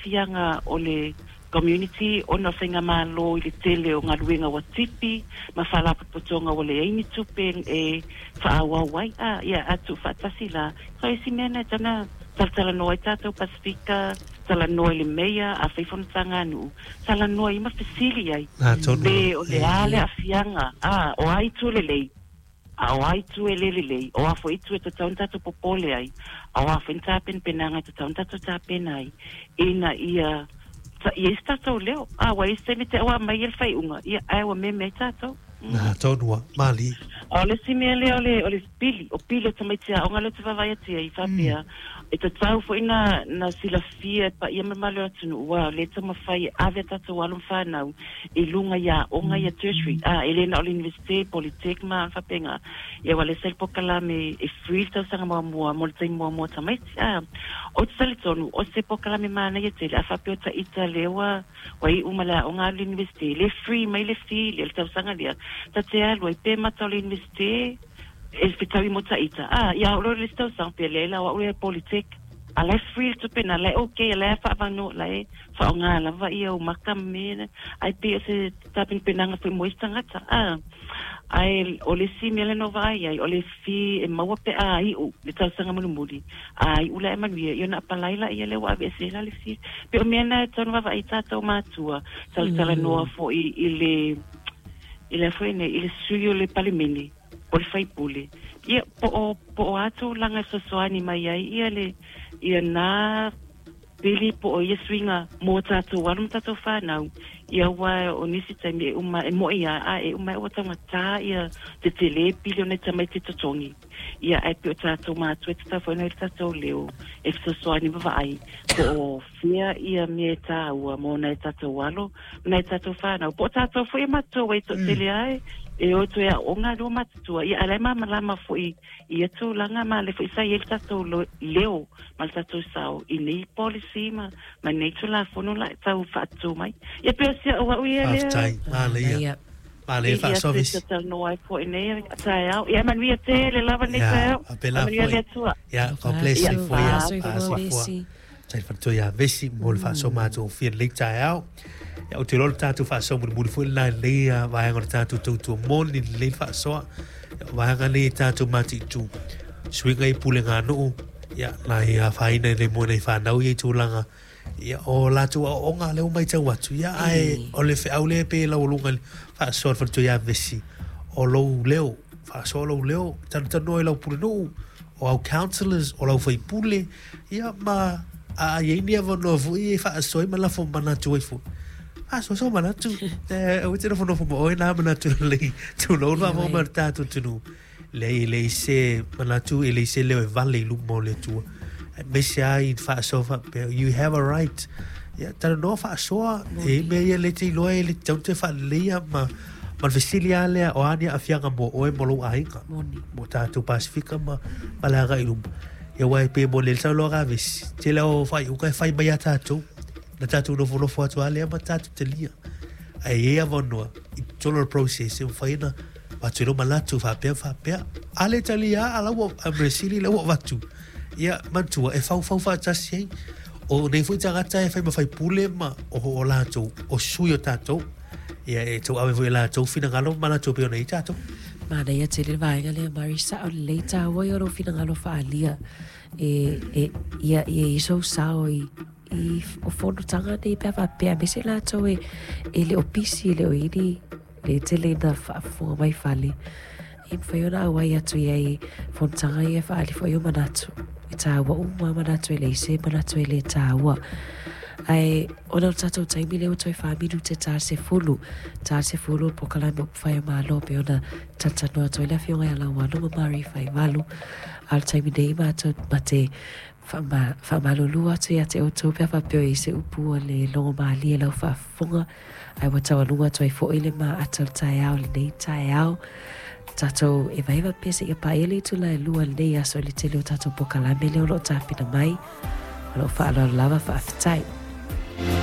aafiaga o le community ona o le faigamalo i le tele o galuega ua tipi ma faalapotopotoga ua leai ni tupe e faaauau ai. A, ia, a tuufaatasi la, so isi mea na e tatau ona talatalanoa ai tatou Pasefika, talanoa i le Mayor, a fai fonotaga a nuu, talanoa i ma fesili ai, pe o le a le aafiaga, a, o a itu lelei, A o a itu e le lelei, o a foi itu e tatau ona tatou popole ai, a o a foi ni tapenapenaga e tatau ona tatou tapena ai, ina ia i ai se tatou leo. A ua i ai se taimi te aua mai ai le faaiuga, ia, ae ua meme ai tatou. Nā, tonu a, mālie. A o le isi mea lea o le, o le pili, o pili o tamaiti aoga lea ou te vaavaai atu i ai, faapea, e tatau foi na, na silafia e paia ma le mamalu o le atunuu, aua o lea e taumafai e ave a tatou alo ma fanau i luga i aoga ia tertiary, a, e le na o le Universite, Polytech ma faapena. Ia aua lea sa i le polokalame e free le tausaga muamua mo le taimi muamua o tamaiti, a. Ou te talitonu, o se polokalame manaia tele, a faapea o taita lea ua, ua iu ma le aoga alu i le Universite, le free mai le fee lea, le tausaga lea, ta te alu ai pe mata o le Universite e fetaui mo taita, a, ia oo loa i le isi tausaga, pe leai la o au lea e Polytech, a la e free le tupe lena, la e okay, la e faaavanoa, la e faaaoga lava ia ou maka ma mea ia, ae pei o se tapenapenaga foi mo isi tagata. A, ae o le isi mea lea na ou vaai ai, o le fee e maua pe a iu le tausaga mulimuli, a iu la e manuia, ia ona apalai laia lea ua aveese ai la le fee. Pei o mea na e tatau ona vaavaai ai tatou matua, talatalanoa foi i le, i le a foi nei, i le sui o le Palemene, po o le sui usufono, ia, po o, po o a tulaga e fesoasoani mai ai ia le, ia na pili po o ia suiga mo tatou alo ma tatou fanau, ia aua o nisi taimi e uma, e mo'i a, a e uma ua taugatā ia te telē pili o nai tamaiti totogi. Ia ae pei o tatou matua e tatau foi ona i le tatou leo e fesoasoani ma vaai po o fea ia mea e tāua mo nai tatou alo ma nai tatou fanau. Po o tatou foi e matutua ua i toatele a e o toe aoga lua matutua, ia ae la e malamalama foi i ia tulaga ma lea foi sa i ai le tatou leo ma le tatou sao i nei policy ma, ma nei Tulafono la e tau faatu mai. Ia pei o si au au ia lea. Faafetai, manaia. Manaia faasoa Vesi. Ia talanoa ai foi nei taeao. Ia manuia tele lava nei taeao. Ia, faapena foi. Le Atua. Ia, God bless you. Soifua, soifua. Tai faletua ia Vesi mo le faasoa matagofie i lenei taeao. Ia, ou te iloa o le tatou faasoa mulimuli foi lena i lenei vaega o le tatou tautua moni lelei le faasoa. Ia, o vaega nei e tatou mataitu. Suiga i puleganuu, ia, nai afaina i le moe nai fanau ia i tulaga, ia, o latou aoaoga lea ua matau atu, ia, ae o le feau lea e pei e laualuga i le faasoa a le faletua ia Vesi, o lou leo, faasoa lou leo, talanoa i lau pulenuu, o au councillors, o lau faipule, Ia ma a i ai ni avanoa foi e faasoa ai ma lafo manatu ai foi. Faasoa sou manatu. Eh, aua e te nofonofo ma oe nā manatu lelei. Tulou le faafofoga mai o le tatou atunuu. Leai, e leai se manatu, e leai se leo e vale i luma o le Atua. Aemaise lava i faasoa faapea, you have a right. Ia, talanoa faasoa, e i ai mea ia lea e te iloa e le tatau ona toe faaleleia ma, ma le fesili lava lea, o a ni aafiaga mo oe ma lou aiga. Moni. Mo tatou Pasifika ma, ma le agai i luma. Ia aua e pei e mo le saunoaga a Vesi, tele o faaiuga e fai mai ia tatou, na tatou nofonofo atu lava lea ma tatou talia. Ae i ai avanoa i totonu o le process e mafai ona avatu ai lou manatu faapea ma faapea. A le talia lava, a la ua, a mea sili lea ua avatu. Ia, manatua, e faufau faatasi ai. O nei foi tagata e fai ma faipule ma o, o latou, o sui o tatou. Ia, e tauave foi e latou finagalo ma manatu e pei ona i ai tatou. Manaia tele le vaega lea Mari, sao lelei taua ia o lou finagalo faaalia e, e, ia, ia i sou sao i, i o fonotaga nei pe a faapea aemaise latou e, e le o pisi e le o i ni le tele ina faafofoga mai fale e mafai ona auai atu i ai fonotaga ia e faaali foi o manatu. E tāua uma manatu e leai se manatu e le tāua. Ae ona o le tatou taimi lea ua toe whā minute tā le sefulu, tā le sefulu o le polokalame Upufai o Malo pei ona talatalanoa atu ai le Afioga ia Lauano ma Marie Faivalu. A o le taimi nei matou ma te faamalulu atu ia te outou pe a faapea o i ai se upu ua le logomalie i lau faafofoga. Ae ua taualuga atu ai foi le maata o le taeao i lenei taeao. Tatou evaeva pea seia paia le itula e lua i lenei aso i le tele o tatou polokalame lea o lo o tapena mai. Ma lou faaaloalo lava, faafetai.